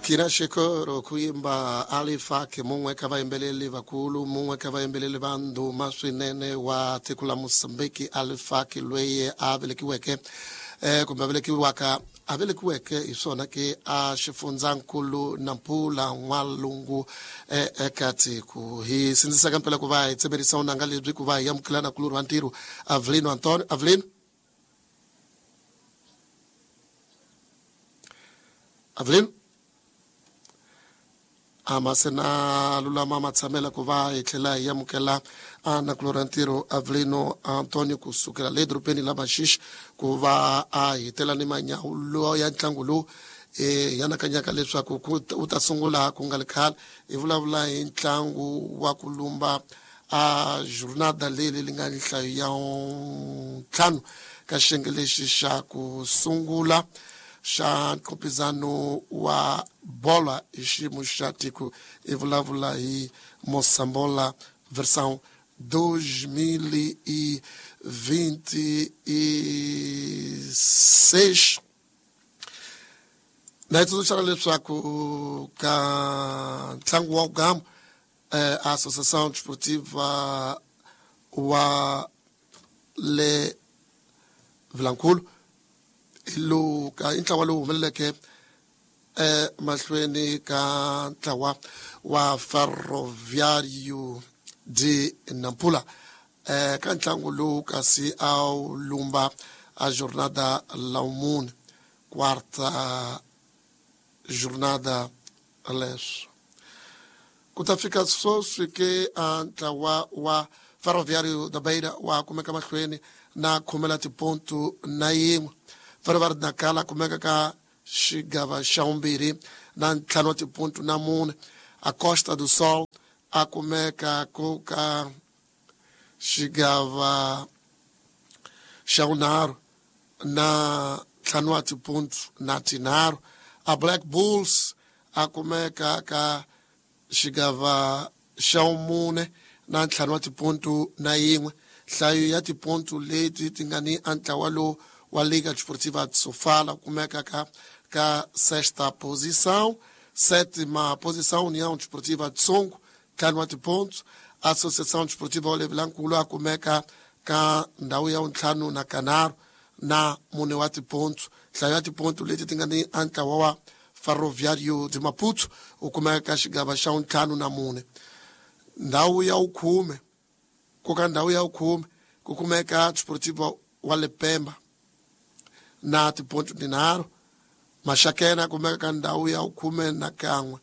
Kina xikoro ku yimba Alifaki, mun'we ka vayimbeleri vakulu, mun'we ka vayimbeleri va ndhuma swinene wa tiko la Mozambique. Alifaki loyi a velekiweke kumbe a velekiwaka, a velekiweke hi swona ke a xifundzankulu Nampula, N'walungu eka tiko. Hi sindzisaka mpela ku va hi tsemerisa unanga lebyi ku va hi amukela na kulorhi wa ntirho Avelino Antonio. Avelino, Avelino a ma se na lulama matshamela ku va hi tlhela hi amukela a nakulorhi ntirho Avelino Antonio kusukela le dorobeni la Maxixe ku va a hitela ni manyawulo ya ntlangu lowu hi anakanyaka leswaku wu ta sungula ku nga ri khale. Hi vulavula hi ntlangu wa ku lumba a jornada leyi li nga nhlayo ya ntlhanu ka xiyenge lexi xa ku sungula xa nqopizano wa bola hi xiyimo xa tiko. Hi vulavula hi Mosambola versão 2026. Na hi tsundzuxana leswaku ka ntlangu wa gamu a Associação Desportiva wa le Vilankulu hi lowu ka i ntlawa lowu humeleleke emahlweni ka ntlawa wa Ferroviário de Nampula ka ntlangu lowu kasi a wu lumba a jornada la mune, quarta jornada. Leswo ku ta fika sweswi ke a ntlawa wa Ferroviário da Beira wa kumeka mahlweni na khumela tipontu na yin'we. Ferroviário de Nacala kumeka ka xigava xa vumbirhi na ntlhanu wa tipontu na mune. A Costa do Sol a kumeka ku ka xigava xa vunharhu na ntlhanu wa tipontu na tinharhu. A Black Bulls a kumeka ka xigava xa vumune na ntlhanu wa tipontu na yin'we. Nhlayo ya tipontu leti ti nga ni a ntlawa lowu wa Liga Desportiva de Sofala kumeka ka sexta posição, sétima posição União Desportiva de Songo, ntlhanu wa tipontu. Associação Desportiva wa Vilankulu a kumeka ka ndhawu ya vuntlhanu na kanharhu na mune wa tipontu. Nhlayo ya tipontu leti ti nga ni a ntlawa wa Ferroviário de Maputo u kumeka ka xigava xa vuntlhanu na mune. Ndhawu ya vukhume, ku ka ndhawu ya vukhume ku kumeka Desportiva wa Lepemba na tipontu tinharhu. Maxakena kumeka ka ndhawu ya vukhume na kan'we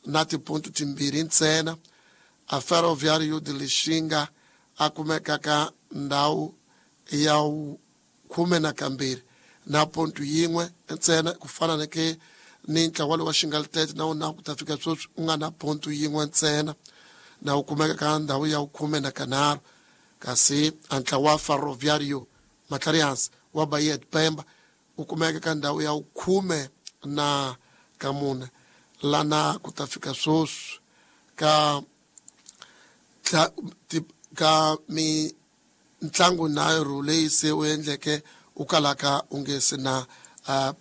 na tipontu timbirhi ntsena. A Ferroviário de Lixinga a kumeka ka ndhawu ya khume na kambirhi na pontu yin'we ntsena, ku fana na ke ni ntlawa lowu wa Xingalitete na wona ku ta fika sweswi u nga na pontu yin'we ntsena na wu kumeka ka ndhawu ya khume na kanharhu. Kasi a ntlawa wa Ferroviário Matlarihansi wa Bahia de Pemba u kumeka ka ndhawu ya khume na kamune lana ku ta fika sweswi ka mintlangu nharhu leyi se u endleke u kalaka u nge se na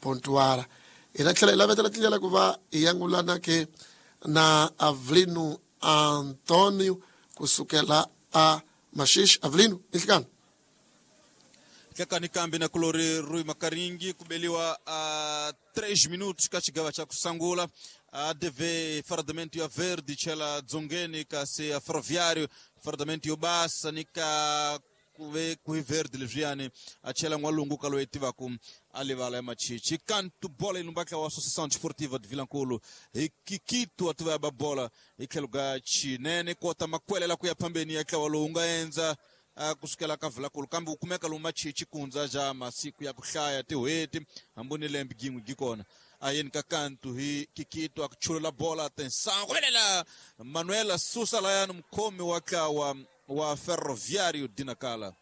pontuara. Hi ta tlhela hi lavetela tindlela ku va hi yangulana ke na Avelino Antonio kusukela a Maxixe. Avelino, inhlikani. Hlekani kambe na kulori Rui Makaringi kubeliwa a 3 minutos ka xigava xa kusangula. A DV fardamento ya verde chela dzongeni, kasi a Ferroviário fardamento yo basa nika kuve kui verde leswiyani a chela n'walungu ka loyi tivaku a livala ya Machichi. Kantu bola ilumbaka wa Associação Desportiva de Vilankulu hi Kikito a tiva ya ba bola hi tlhelo ka chinene kota makwelela ku ya phambeni ya ntlawa lowu nga endza kusukela ka Vilankulu, kambe wu kumeka lomu Machichi kundza ja masiku ya ku hlaya tin'hweti hambi ni lembe gin'we gi kona. A yeni ka kantu hi Kikito a ku chulula bola, atenção kuvelela Manuela susa layani mukhomi wa ntlawa wa Ferroviário de Nacala.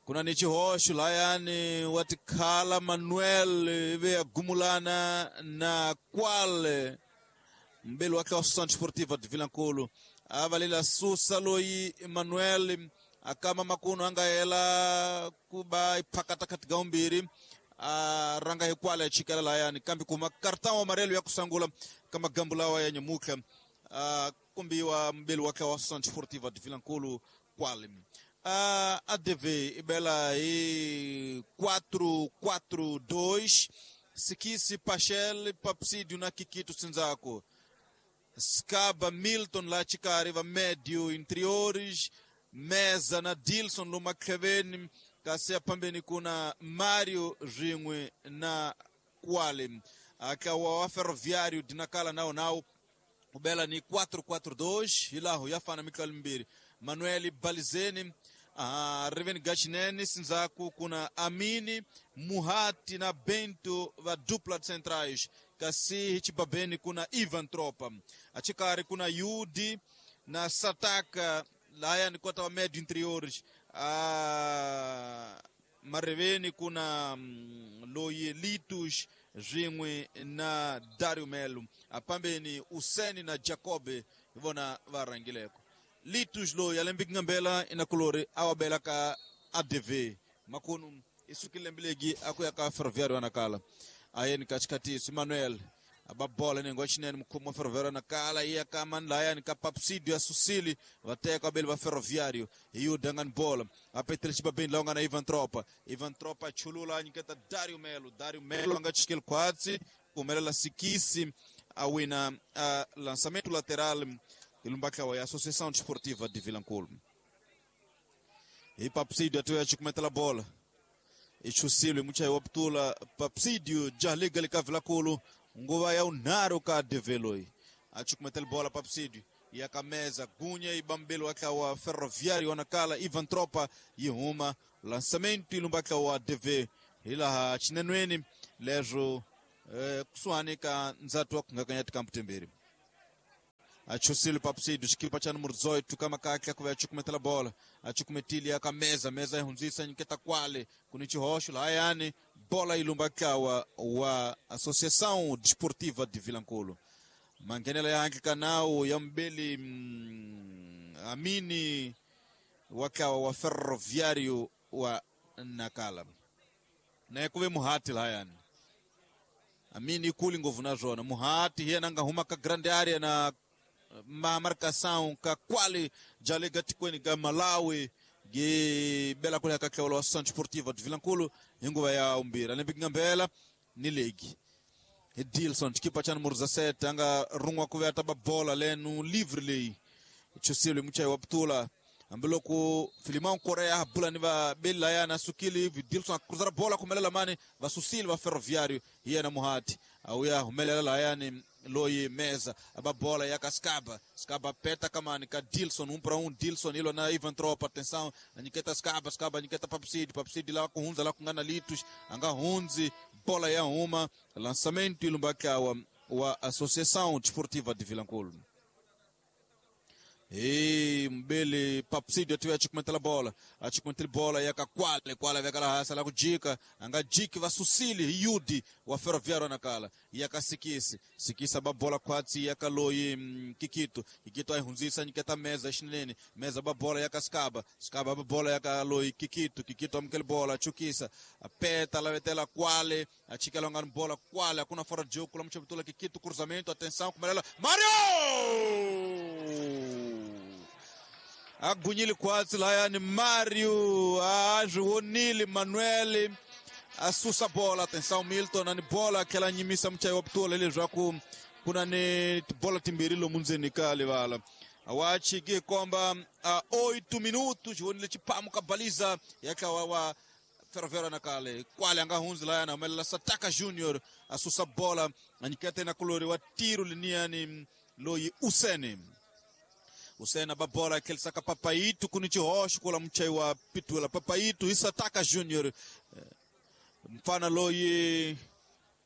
Kuna ni xihoxo layani wa tikhala Manuel ivi ya gumulana na kwale mbeli wa ntlawa Associação Desportiva de Vilankulu a valela susa loyi Manuel akama makuno a nga hela ku ba iphakata kati ga umbirhi. A ranga hi kwala chikela layani kambe kuma cartão amarelo ya kusangula kama gambu lawa ya nyamuka kumbiwa mbeli wake wa Associação Desportiva de Vilankulo kwale. ADV ibela hi 4-4-2 Sikisi Pachel Papsidio na Kikito Sinzako Skaba Milton la chikari va médio interiores Meza na Dilson Lumakheveni kasi pambeni kuna Mario Rinwe na Kwale akawa wa Ferroviário de Nacala nao nao ubela ni 4-4-2 hilaho yafana mikali mbiri Manuel Balizeni Reven Gachinene Sinzaku kuna Amini Muhati na Bento va dupla de centrais kasi hichibabeni kuna Ivan Tropa achikari kuna Yudi na Sataka laya ni kota wa médio interiores mareveni kuna Loyelitus Rinwe na Dario Melo apambeni Useni na Jacobe ivona varangileko Litus lo yalembiki ngambela inakulori awabela ka ADV makunu isukilembelegi akuya ka Ferroviário anakala ayeni katikati Manuel ababola nengo chinene mkhumu wa Ferroviário anakala iya ka manlaya ni ka Papsidio asusili vateka abeli va Ferroviário iyo dangani bola apetele chibabeni laonga na Ivan Tropa Ivan Tropa chulula nyiketa Dario Melo Dario Melo anga chikele kwatsi kumelela Sikisi awina lançamento lateral ilumbaka ya Associação Desportiva de Vilankulo. E Papsidio atuya chikumetela bola ichusile mucha waptula Papsidio jaliga lika Vilankulo nguva ya unaro ka develoi achikumetela bola Papsidio yakameza gunya ibambelo waka wa Ferroviário wanakala Ivan Tropa yihuma lançamento ilumbaka wa DV ilaha chinenweni lezo kusuhani ka nzatu wa kungakanyati kamputemberi achusile Papsidio chikipa cha número 18 kama kakya kuva achikumetela bola achikumetili akameza meza ihunzisa nyiketa kwale kunichihosho layani bola ilumbakawa wa Associação Desportiva de Vilankulo mangenela yanke kanao ya mbeli Amini wakawa wa Ferroviário wa Nakala naye kuve muhati layani Amini ikuli ngovu nazona muhati hiye nanga huma ka grande área na ma marcação ka kwale jalega tikweni ka Malawi ge bela kule kakaulo wa Associação Desportiva de Vilankulo inguva ya umbira lembi ngambela ni legi Edilson chikipa cha número 17 anga rungwa kuve ataba bola lenu livre lei chusile muchai waptula ambiloko Filimão Korea bula ni va bela ya na sukili Edilson cruzar bola kumelela mani va susili va Ferroviário hiya na Muhati auya humelela la yani loyi meza aba bola ya Skaba Skaba peta kamani ka Dilson 1 para 1 Dilson ilo na Ivan Tropa atenção anyiketa Skaba Skaba anyiketa Papsidi Papsidi la kuhunza la kungana Litus anga hunzi bola ya uma lançamento ilumbaka wa Associação Desportiva de Vilankulo. E mbele Papsidio atiwe achikumetela bola achikumetela bola yakakwale kwale vekala hasa la kujika anga jiki vasusili yudi wa Ferroviário nakala yakasikisi sikisa babola kwatsi yakaloyi kikito kikito aihunzisa nyiketa meza xinene meza babola yakaskaba skaba babola yakaloyi kikito kikito amkele bola chukisa apeta lavetela kwale achikela ngani bola kwale hakuna fora de jogo kula mchabitula kikito cruzamento atenção kumelela Mario agunyile kwatsi layani Mario azvionile Manuel asusa bola atenção Milton ani bola akela nyimisa muchayi wa putula leswaku kuna ni tibola timbirhi lomu ndzeni ka livala wachiki komba 8 minutos xionile xipamu ka baliza ya tlawa wa Ferroviário nakale kwale anga hundzi layani humelela Sataka Junior asusa bola anyikete na kulori wa tiro liniyani loyi Usene Usena babola aquele saca Papaito kunichihoxo kula muchai wa pitula Papaito Isataka Junior mfana loyi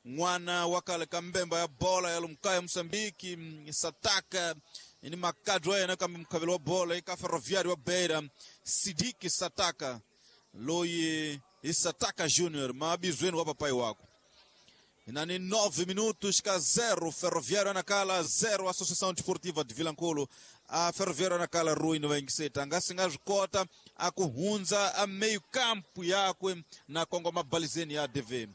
n'wana wa kale ka mbemba ya bola ya lumkaya Mozambique Sataka ni makadro ya yena kambe mukhavelo wa bola eka Ferroviário wa Beira Sidiki Sataka loyi Isataka Junior mabizweni wa papai wako Nani 9 minutos ka 0 Ferroviário Nacala 0 Associação Desportiva de Vilanculo. A Ferroviário Nacala Rui no Engiseta ngasinga zwikota a kuhunza a meio campo yakwe na kongoma balizeni ya DV.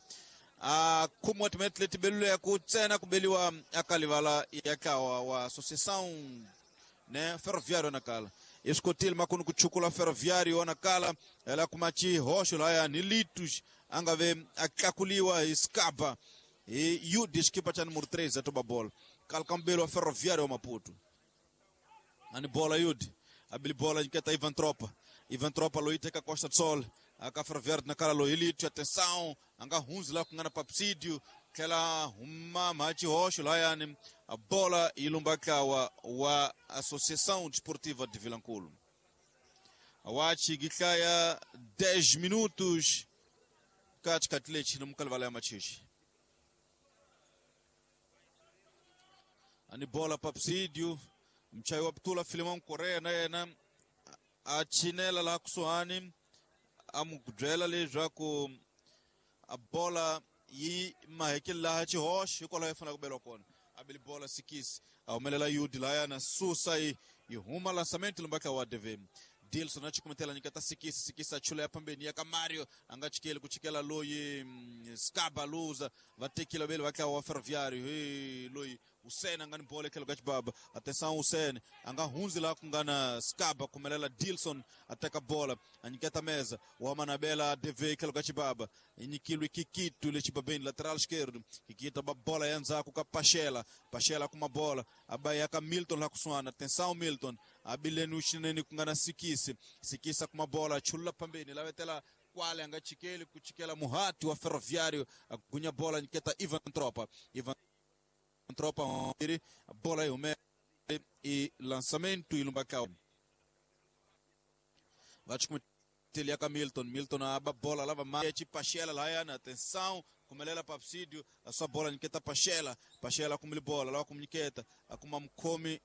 A khumiwa timinete leti beluleke ntsena ku beliwa akalivala ya ntlawa wa Associação ne Ferroviário Nacala. I swi kotile makunu ku chukula Ferroviário Nacala ela kuma xihoxo laya ni Litos a nga ve a tlakuliwa hi Scaba hi UD xikipa xa numero 3 a toba bola kalkambelo wa Ferroviário wa Maputo. Ani bola Yudi abili bola nyiketa Ivan Tropa. Ivan Tropa loyi teka Costa do Sol aka Ferroviário Nacala loyi Lito atenção a nga hundzi laha ku nga na Papsidio tlhela huma mha xihoxo layani a bola yi lumba ntlawa wa Associação Desportiva de Vilanculo. Awachi gihlaya 10 minutos ka xikhathi lexi na mukalivala ya machichi. Ani bola Papsidio mchayi wa putula Filimão Correa na yena a chinela laha kusuhani a mu byela leswaku a bola yi mahekeli laha xihoxo hikwalaho yi fanele ku beliwa kona. A beli bola Sikisi a humelela Yudi laya na susa yi huma lançamento lumba wa DV. Dilson a chikumetela nyiketa Sikisi. Sikisi a chula ya pambeni ya ka Mario a nga chikeli ku chikela loyi Scaba luza va tekile vele va tlawa wa Ferroviário. Hey, loyi Hussein a nga ni bola etlhelo ka xibaba. Atenção Hussein a nga hundzi laha ku nga na Scaba kumelela Dilson a teka bola a nyiketa meza wa manabela DV etlhelo ka xibaba. Nyikilwe Kikito le xibabeni lateral esquerdo. Kikito ba bola ya ndzhaku ka Pachela. Pachela kuma bola a ba ya ka Milton laha kusuhana. Atenção Milton abileni uxinene ku nga na Sikisi. Sikisa kuma bola chulula pambeni lavetela kwale a nga chikeli ku chikela muhati wa Ferroviário a gunya bola nyiketa Ivan Tropa. Ivan Tropa bola yi hume i lançamento yi lumba ka va chikumeteli ya ka Milton. Milton a ba bola lava ma Pachela layana atenção kumelela Papsidio a sua bola nyiketa Pachela. Pachela kumili bola lava kumnyiketa a kuma mukhomi.